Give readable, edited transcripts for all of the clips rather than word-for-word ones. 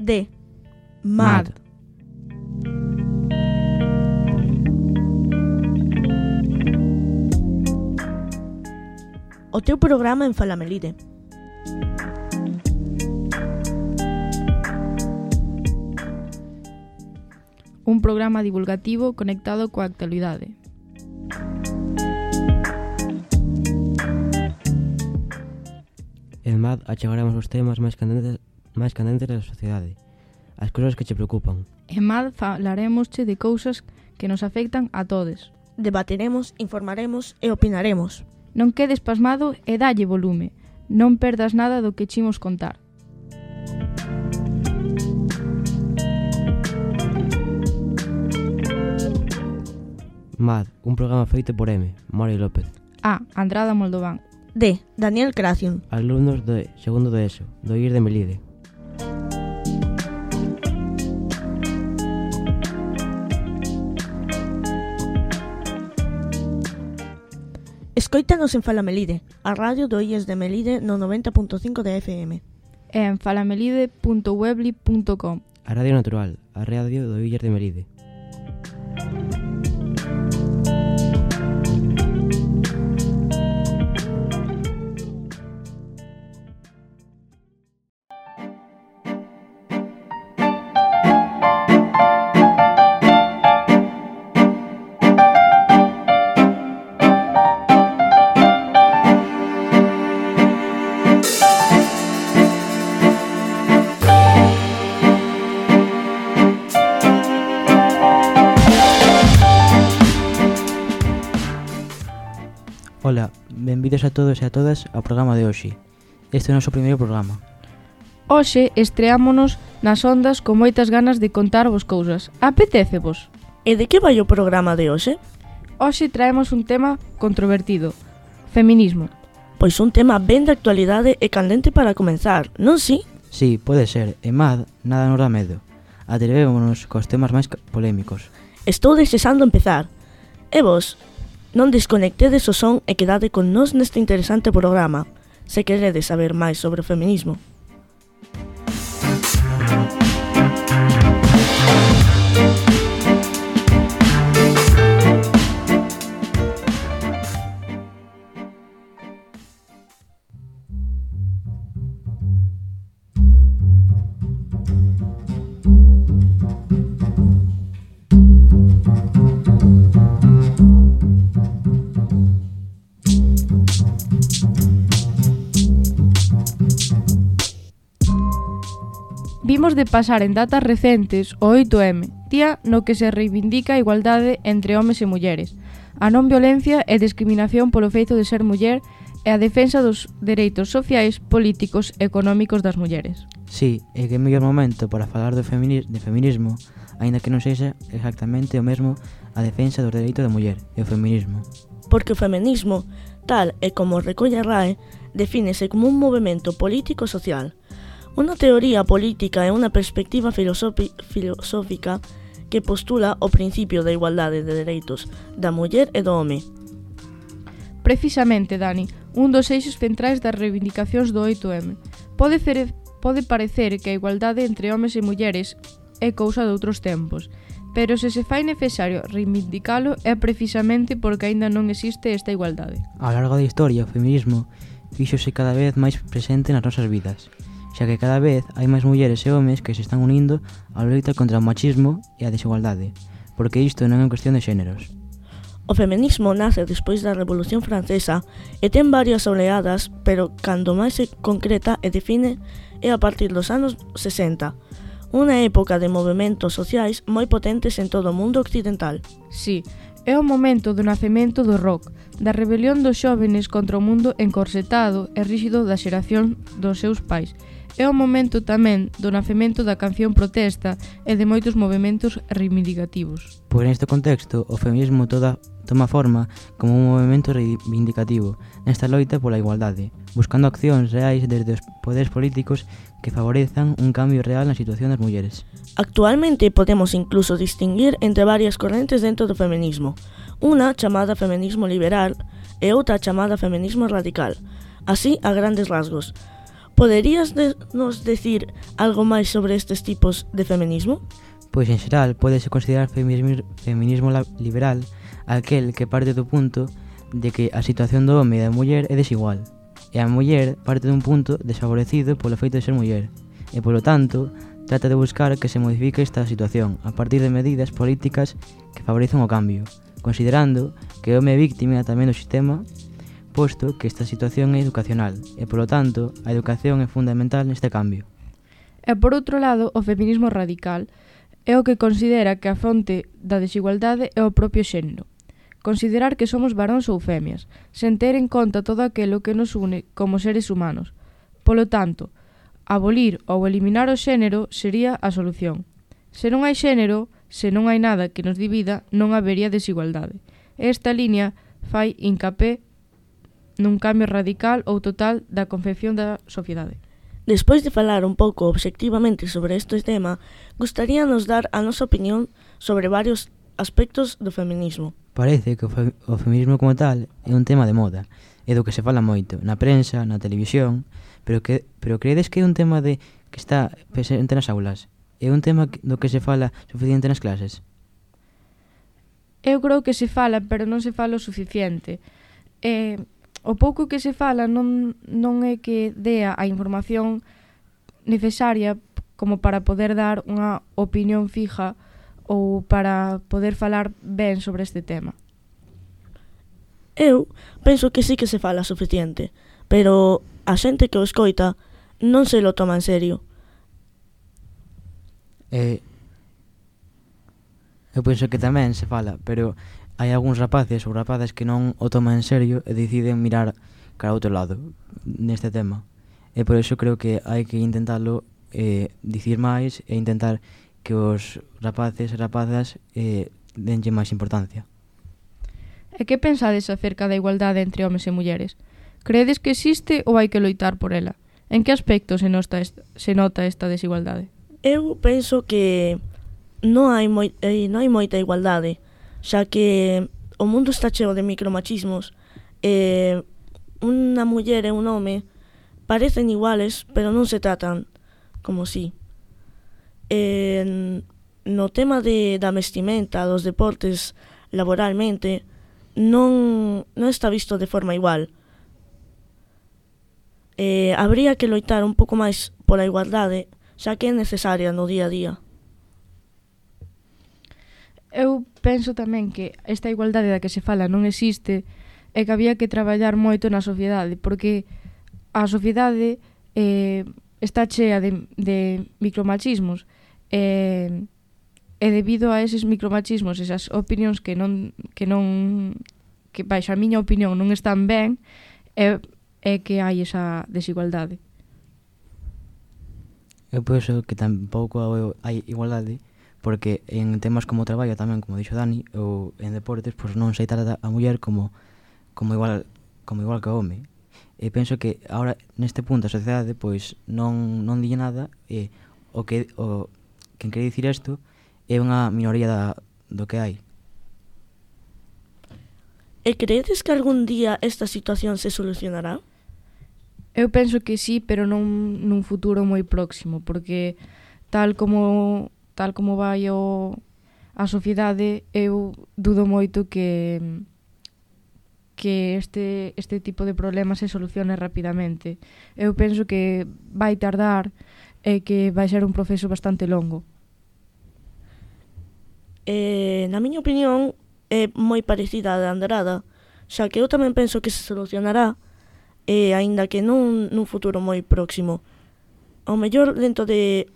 de MAD. O teu programa en Falamelide. Un programa divulgativo conectado coa actualidade. En MAD achegaremos os temas máis candentes da sociedade, as cousas que che preocupan. En MAD falaremosche de cousas que nos afectan a todos. Debateremos, informaremos e opinaremos. Non quedes pasmado e dalle volume. Non perdas nada do que chimos contar. MAD, un programa feito por M, Mori López. A. Andrada Moldován. D. Daniel Craciun. Alumnos de segundo de ESO, do IR de Melide. Escoítanos en Falamelide, a radio do IES de Melide no 90.5 de FM. E en falamelide.webly.com. A Radio Natural, a radio do IES de Melide. Ola, benvidos a todos e a todas ao programa de hoxe. Este é o noso primeiro programa. Hoxe estreámonos nas ondas con moitas ganas de contarvos cousas. Apetécevos? E de que vai o programa de hoxe? Hoxe traemos un tema controvertido. Feminismo. Pois un tema ben de actualidade e candente para comenzar, non si? Sí, pode ser. E MAD, nada nos dá medo. Atrevémonos cos temas máis polémicos. Estou desexando empezar. E vos, non desconectedes o son e quedade con nós neste interesante programa, se queredes saber máis sobre o feminismo. Vimos de pasar en datas recentes o 8M, día no que se reivindica a igualdade entre homes e mulleres, a non violencia e discriminación polo feito de ser muller e a defensa dos dereitos sociais, políticos e económicos das mulleres. Sí, e que mellor momento para falar de feminismo, aínda que non sexa exactamente o mesmo a defensa dos dereitos da muller e o feminismo. Porque o feminismo, tal e como recolle a RAE, defínese como un movemento político-social, unha teoría política e unha perspectiva filosófica que postula o principio da igualdade de dereitos da muller e do home. Precisamente, Dani, un dos eixos centrais das reivindicacións do 8M. Pode parecer que a igualdade entre homes e mulleres é cousa de outros tempos, pero se se fai necesario reivindicalo é precisamente porque aínda non existe esta igualdade. A lo largo da historia, o feminismo fíxose cada vez máis presente nas nosas vidas, xa que cada vez hai máis mulleres e homes que se están unindo á loita contra o machismo e a desigualdade, porque isto non é cuestión de xéneros. O feminismo nace despois da Revolución Francesa e ten varias oleadas, pero cando máis se concreta e define é a partir dos anos 60, unha época de movementos sociais moi potentes en todo o mundo occidental. Sí, é o momento do nacemento do rock, da rebelión dos xóvenes contra o mundo encorsetado e ríxido da xeración dos seus pais. É o momento tamén do nacemento da canción protesta e de moitos movementos reivindicativos. Pois neste contexto, o feminismo toma forma como un movemento reivindicativo nesta loita pola igualdade, buscando accións reais desde os poderes políticos que favorezan un cambio real na situación das mulleres. Actualmente podemos incluso distinguir entre varias correntes dentro do feminismo, unha chamada feminismo liberal e outra chamada feminismo radical, así a grandes rasgos. Poderías nos decir algo máis sobre estes tipos de feminismo? Pois en xeral pódese considerar feminismo liberal aquel que parte do punto de que a situación do home e da muller é desigual, e a muller parte dun punto desfavorecido polo feito de ser muller, e polo tanto trata de buscar que se modifique esta situación a partir de medidas políticas que favorecen o cambio, considerando que o home é víctima tamén do sistema, posto que esta situación é educacional e, polo tanto, a educación é fundamental neste cambio. E por outro lado, o feminismo radical é o que considera que a fonte da desigualdade é o propio xénero. Considerar que somos varóns ou femias, sen ter en conta todo aquilo que nos une como seres humanos. Polo tanto, abolir ou eliminar o xénero sería a solución. Se non hai xénero, se non hai nada que nos divida, non habería desigualdade. Esta liña fai hincapé nun cambio radical ou total da concepción da sociedade. Despois de falar un pouco obxectivamente sobre este tema, gustaríanos dar a nosa opinión sobre varios aspectos do feminismo. Parece que o feminismo como tal é un tema de moda, é do que se fala moito, na prensa, na televisión, pero credes que é un tema que está presente nas aulas? É un tema do que se fala suficiente nas clases? Eu creo que se fala, pero non se fala o suficiente. O pouco que se fala non é que dea a información necesaria como para poder dar unha opinión fija ou para poder falar ben sobre este tema. Eu penso que sí que se fala suficiente, pero a xente que o escoita non se lo toma en serio. Eu penso que tamén se fala, pero hai algúns rapaces ou rapazas que non o toman en serio e deciden mirar cara a outro lado neste tema. E por iso creo que hai que intentalo dicir máis e intentar que os rapaces e rapazas denlle máis importancia. E que pensades acerca da igualdade entre homes e mulleres? Credes que existe ou hai que loitar por ela? En que aspecto se nota esta desigualdade? Eu penso que non hai moita igualdade, xa que o mundo está cheo de micromachismos e unha muller e un home parecen iguales, pero non se tratan como si. No tema da vestimenta, dos deportes, laboralmente, non está visto de forma igual. Habría que loitar un pouco máis pola igualdade, xa que é necesaria no día a día. Eu penso tamén que esta igualdade da que se fala non existe e que había que traballar moito na sociedade, porque a sociedade está chea de micromachismos e debido a eses micromachismos, esas opinións que baixo a miña opinión non están ben, é que hai esa desigualdade. Eu penso que tampouco hai igualdade, porque en temas como o traballo tamén, como dixo Dani, ou en deportes, pois non se trata a muller como igual que o home. E penso que agora neste punto a sociedade pois non di nada e quen quere dicir isto é unha minoría do que hai. E credes que algún día esta situación se solucionará? Eu penso que sí, pero non nun futuro moi próximo, porque tal como vai a sociedade, eu dudo moito que este tipo de problemas se solucione rapidamente. Eu penso que vai tardar e que vai ser un proceso bastante longo. Na miña opinión é moi parecida a da Andrada, xa que eu tamén penso que se solucionará, aínda que non nun futuro moi próximo. Ao mellor dentro de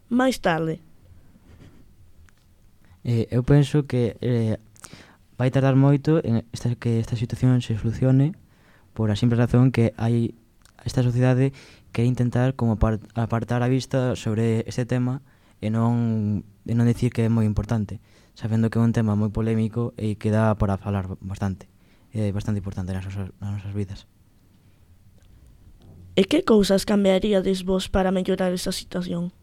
máis tarde. Eu penso que vai tardar moito en que esta situación se solucione por a simple razón que hai esta sociedade que intentar como apartar a vista sobre este tema e non dicir que é moi importante, sabendo que é un tema moi polémico e que dá para falar bastante. É bastante importante nas nosas vidas. E que cousas cambiaríades vos para mellorar esa situación?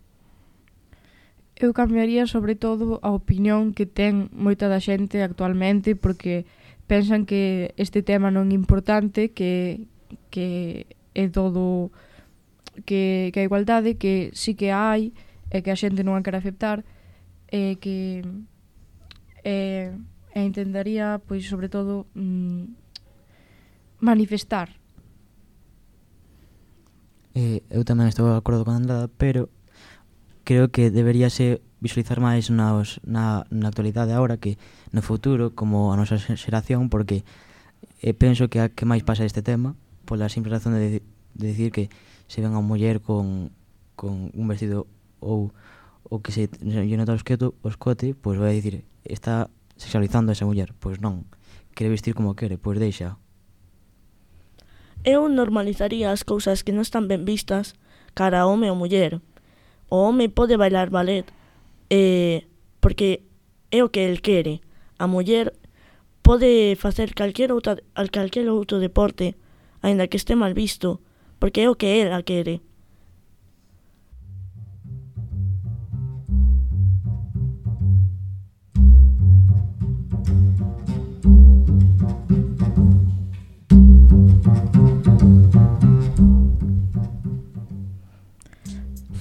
Eu cambiaría sobre todo a opinión que ten moita da xente actualmente, porque pensan que este tema non é importante, que é todo que a igualdade que sí que hai e que a xente non a quere aceptar e que intentaría, pois, sobre todo, manifestar. Eu tamén estou de acordo con Andrada, pero creo que deberíase visualizar máis na actualidade agora que no futuro, como a nosa xeración, porque penso que a que máis pasa este tema pola simple razón de decir que se ven a muller con un vestido ou que se lle nota o escote, pois vai dicir, está sexualizando a esa muller. Pois non, quere vestir como quere, pois deixa. Eu normalizaría as cousas que non están ben vistas cara a home ou muller. O home pode bailar ballet porque é o que el quere. A muller pode facer calquer outro deporte, aínda que este mal visto, porque é o que ela quere.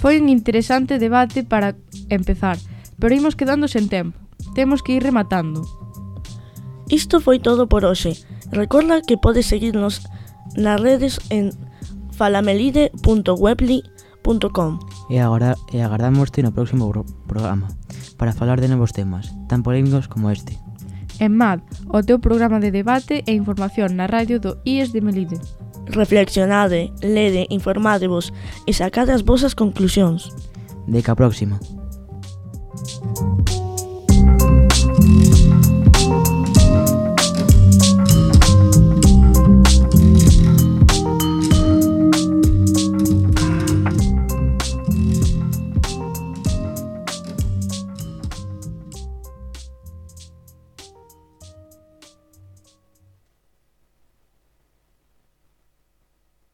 Foi un interesante debate para empezar, pero imos quedando sen tempo. Temos que ir rematando. Isto foi todo por hoxe. Recorda que podes seguirnos nas redes en falamelide.webly.com. E agardámoste no próximo programa para falar de novos temas, tan polémicos como este. En MAD, o teu programa de debate e información na radio do IES de Melide. Reflexionade, lede, informadevos e sacade as vosas conclusións. Deca a próxima.